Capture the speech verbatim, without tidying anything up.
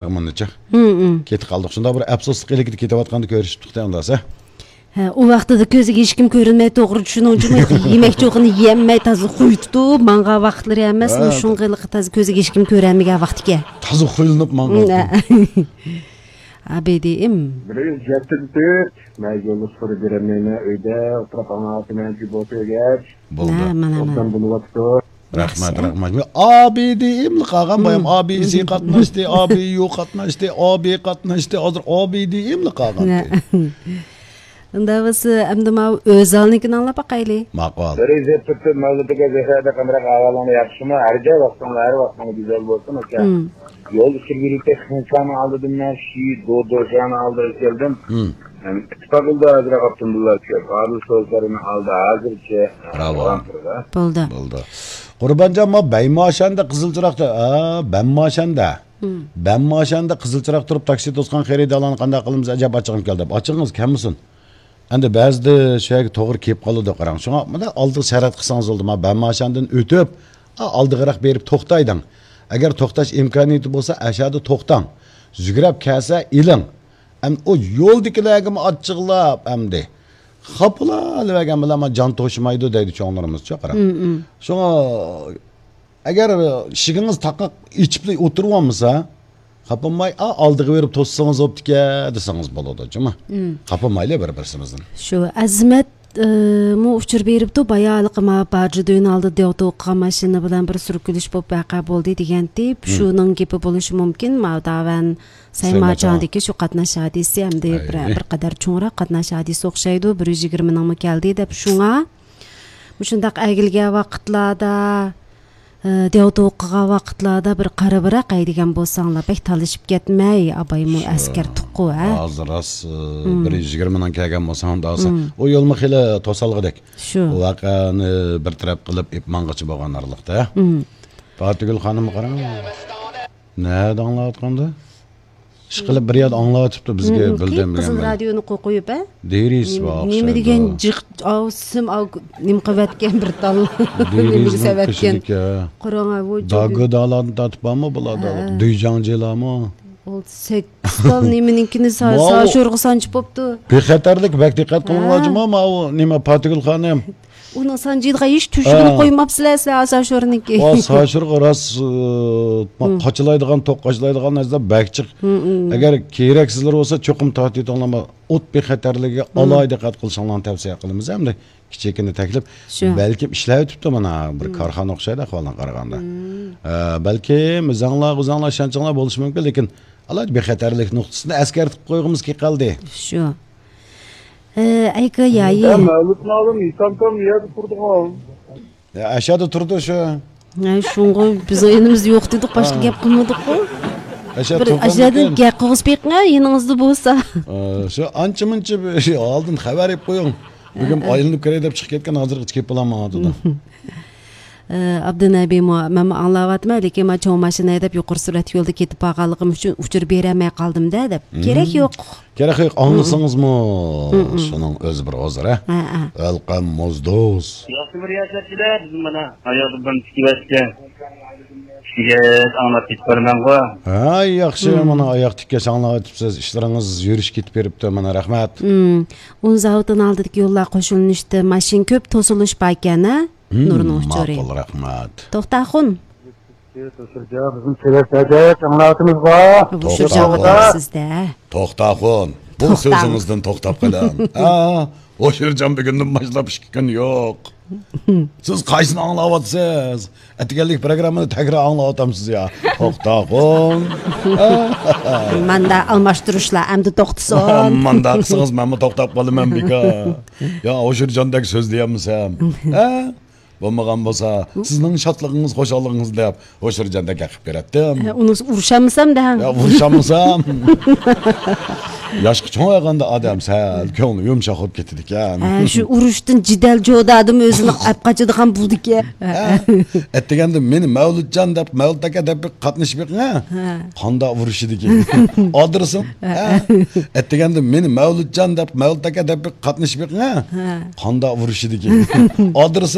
مۇنچە. ھىم، ھىم. كېتىپ قالدۇق. شۇنداق بىر ئەپسۇسلۇق ئىلكىدە كېتىۋاتقاندا كۆرۈشۈپتۇق-تە ئۇنداق. ھە، ئۇ ۋاقتىدا كۆزىگە ھېچكىم كۆرۈنمەي، توغرا چۈشىنىڭ جۇمۇ، يېمەك-چوقىنى يېيەلمەي، تازا خۇي تۇتۇپ ماڭغان ۋاقىتلىرى ئەمەس، ھە، مۇشۇنغا ھېلىقى تازا كۆزىگە ھېچكىم كۆرەنمىگەن ۋاقىت ئىكەن. تازا خۇيلىنىپ ماڭغان. ھە. ئابىدىم. بىر يۈز يەتتە تۆت، مەن يوللۇق سورا بېرەلمەيمەن، ئۆيدە ئولتۇرۇپ ئاڭلاۋاتىمەن، جۇ بولسا ئۆگەتچ. بولدى. ھە، مانا، مانا. رەھمەت، رەھمەت. ئابىدىملا قالغان بايام، ئابىسى قاتناشتى، ئابىيۇ قاتناشتى، ئابى قاتناشتى، ھازىر ئابىدىملا قالغان. ئۇنداق بولسا، ئەمدى ماۋۇ ئۆزەلنىڭكىنى ئاڭلاپ باقايلى. ماقۇل. بىر يۈز يەتتە تۆت مەۋلىتىگە زەھەردە قامراق ئەھۋالىڭلار ياخشىمۇ؟ ھەر جاي ۋاقتىڭلار، ھەر ۋاقتىڭلار گۈزەل بولسۇن، ئۇكا. يول ئىچىدە يۈرۈپ كەتكەن ئىنساننىڭ ئالدىدا مەن شى دو دوشانىڭ ئالدىغا كەلدىم. مەن ئىتتىپاق يولدا ھازىر ئاپتوموبىللار كۆپ. ئادىل سوزلارنىڭ ئالدى ھازىرچە راۋان. بولدى. بولدى. قۇربانجان، ما بەيماشەندە قىزىل چىراغدا، ئا، بەمماشەندە. بەمماشەندە قىزىل چىراغ تۇرۇپ، تاكسى توسقان خېرىدارلارنى قانداق قىلىمىز ئەجەب؟ ئاچىقىم كەلدى. ئاچىقىڭىز كەلمىسۇن. ئەمدى بەزىدە شۇ يەرگە توغرا كېلىپ قالىدۇ، قاراڭ. شۇڭا مۇنداق ئالدىغا شارائىت قىلسىڭىز بولىدۇ. ما بەماشەندىن ئۆتۈپ، ئا، ئالدىغىراق بېرىپ توختايدىڭ. ئەگەر توختاش ئىمكانىيىتى بولسا، ئەشەدە توختاڭ. يۈگرەپ كەلسە ئېلىڭ. ئەمدى ئۇ يولدىكىلەرگىمۇ ئاچچىقلاپ ئەمدى خاپىلاۋەرگەن بىلەن جان توشىمايدۇ دەيدۇ چوڭلىرىمىزچۇ، قاراڭ. شۇڭا ئەگەر ئىشىكىڭىز تاقاق ئېچىپلا ئولتۇرۇۋالمىسا، خاپىماي، «ئا، ئالدىغا بېرىپ توسسىڭىز بوپتىكەن» دېسىڭىز بولىدۇ، جۇمۇ. خاپىمايلى بىر-بىرسىمىزدىن. شۇ ئەزىمەت، ئى، مۇ ئۇچۇر بېرىپتۇ، بايا ھېلىقى ما باجى دۆينىڭ ئالدىدا دېۋىتى ئوقۇغان ماشىنا بىلەن بىر سۈركىلىش بولۇپ ۋەقە بولدى دېگەنتى. شۇنىڭ گېپى بولۇشى مۇمكىن. ما داۋەن سايماچاڭدىكى شۇ قاتناش ھادىسىسى ئەمدى بىر، بىر قەدەر چوڭراق قاتناش ھادىسىسى ئوخشايدۇ. بىر يۈز يىگىرمىنىڭمۇ كەلدى دەپ. شۇڭا مۇشۇنداق ئەگىلگەن ۋاقىتلاردا، ئى، دېۋىتى ئوقۇغان ۋاقىتلاردا بىر قارىۋېرەي دېگەن بولساڭلار، بەك تالىشىپ كەتمەي، ئابايمۇ ئەسكەرتىپقۇ، ھە؟ ھازىر راست، ئى، بىر يۈز يىگىرمىنىڭ كەلگەن بولساڭ، داسا. ئۇ يولمۇ خېلى توسالغۇدەك. شۇ. ئۇ ۋەقەنى بىر تەرەپ قىلىپ ئېلىپ ماڭغىچە بولغان ئارىلىقتا. پاتىگۈل خانىمغا قاراڭ. نەدە ئاڭلاۋاتقاندا؟ ئىشقىلىپ بىر يەردە ئاڭلاۋاتىپتۇ، بىزگە بىلدۈرمىگەن. قىزىل رادىيونى قويۇپ، ھە؟ دېرىس بار. نېمە دېگەن جىق، ئاۋ، سىم، ئاۋ، نېمە قىلىۋەتكەن بىر تال. نېمىگە سەۋەتكەن. قاراڭ، ئاۋۇ داگودالارنى تارتىپ بارمۇ بۇلاردا؟ ھە. دۈيجاڭجىلارمۇ؟ ئۇ سەككىز تال نېمىنىڭكىنى سا-، ساشورغا سانچىپ بوپتۇ. بىخەتەرلىك بەك دىققەت قىلىڭلار، جۇما، ماۋۇ نېمە، پاتىگۈل خانىم. ئۇنىڭ سانجىيدىغان ھېچ تۆشۈكىنى قويماپسىلەر، سىلەر ساشورنىڭكى. ئا، ساشورغا راست، ئى، قاچىلايدىغان، توك قاچىلايدىغان نەرسىلەر بەك جىق. ئەگەر كېرەكسىزلىرى بولسا، چوقۇم تارتىۋېتىڭلار. ئوت بىخەتەرلىكىگە ئالاھىدە دىققەت قىلىشىڭلارنى تەۋسىيە قىلىمىز ھەمدە كىچىككىنە تەكلىپ. شۇ. بەلكىم ئىشلەۋېتىپتۇ مانا، بىر كارخانا ئوخشايدۇ ئەھۋالىڭ قارىغاندا. ئە، بەلكىم ئۆزۈڭلار، ئۆزۈڭلار ئىشەنچىڭلار بولۇشى مۇمكىن، لېكىن ئالاھىدە بىخەتەرلىك نۇقتىسىنى ئەسكەرتىپ قويغۇمىز كېلىپ قالدى. شۇ. ئە، ئەيكا يايى. يا، مەۋلۇت مالىم، ئىسام تام يەردە تۇرىدىغان. يا، ئەشەدە تۇرىدۇ شۇ. ھە، شۇڭغۇ بىز ئېنىمىز يوق دېدۇق، باشقا گەپ قىلمىدۇققۇ. بىر ئەشەدىن گەپ قىلغۇزۇپ بېقىڭە، يېنىڭىزدا بولسا. ئە، شۇ ئانچە-مۇنچە بىر شۇ ئالدىن خەۋەر ئېلىپ قويۇڭ. بۈگۈن ئايلىنىپ كىرەي دەپ چىقىپ كەتكەن، ھازىرغىچە كېلىپ بولالمايۋاتىدۇ. ئابدۇنەبى مۇ-، مەنمۇ ئاڭلاۋاتىمەن، لېكىن مانا چوڭ ماشىنا ھەيدەپ يۇقىرى سۈرئەت يولدا كېتىپ بارغانلىقىم ئۈچۈن ئۇچۇر بېرەلمەي قالدىم-دە دەپ. كېرەك يوق. كېرەك يوق، ئاڭلىسىڭىزمۇ شۇنىڭ ئۆزى بىر ھۇزۇر، ھە؟ ھە، ھە. ئەلقەم موزدوز. ياخشى بىر ياشاپسىلەر، بىز مانا ھاياتى بىلەن تىكىۋەتكەن. كىشىگە ئاڭلاپ كېتىپ بارىمەنغۇ. ھە، ياخشى، مانا ئاياق تىككەچ ئاڭلاۋېتىپسىز. ئىشلىرىڭىز يۈرۈشۈپ كېتىپ بېرىپتۇ، مانا، رەھمەت. ئون زاۋۇتىنىڭ ئالدىدىكى يوللار قوشۇلۇنۇشتا ماشىنا كۆپ، توسۇلۇش باركەن، ھە؟ نۇرنىڭ ئۇچۇرى. ماقۇل، رەھمەت. توختاخۇن. بىزنى كېلىۋەتسەك ئاڭلاۋاتىمىزغۇ. توختاخۇن. سىزدە. توختاخۇن. بۇ سۆزىڭىزدىن توختاپ قېلىڭ. ھە، ھوشۇرجان بۈگۈندىن باشلاپ ئىككى كۈن يوق. سىز قايسىنى ئاڭلاۋاتىسىز؟ ئەتىگەنلىك پروگراممىنى تەكرار ئاڭلاۋاتامسىز يا؟ توختاخۇن. ماندا ئالماشتۇرۇشلار ئەمدى توختىسۇن. ماندا قىلسىڭىز مەنمۇ توختاپ قالىمەن بىكار. يا ھوشۇرجاندەك سۆزلىيەلمىسەم. ھە؟ بولمىغان بولسا، سىزنىڭ شادلىقىڭىز، خۇشاللىقىڭىز دەپ ھوشۇرجاندەك ھەقىپ بېرەتتىم. ھە، ئۇنى ئۇرۇشالمىسام دە. يا، ئۇرۇشالمىسام. ياشقا چوڭايغاندا ئادەم سەل كۆڭلى يۇمشاق بولۇپ كېتىدىكەن. ھە، شۇ ئۇرۇشتىن جېدەل جودادىمۇ ئۆزىنى ئەپ قاچىدىغان بولىدىكەن. ھە. ئەتىگەندە مېنى مەۋلۇتجان دەپ، مەۋلۇت ئاكا دەپ بىر قاتنىشىپ بېقىڭ، ھە؟ ھە. قانداق ئۇرۇشىدىكەن. ئادرېسىڭ؟ ھە. ئەتىگەندە مېنى مەۋلۇتجان دەپ، مەۋلۇت ئاكا دەپ بىر قاتنىشىپ بېقىڭ، ھە؟ ھە. قانداق ئۇرۇشىدىكەن. ئادرېسىڭ؟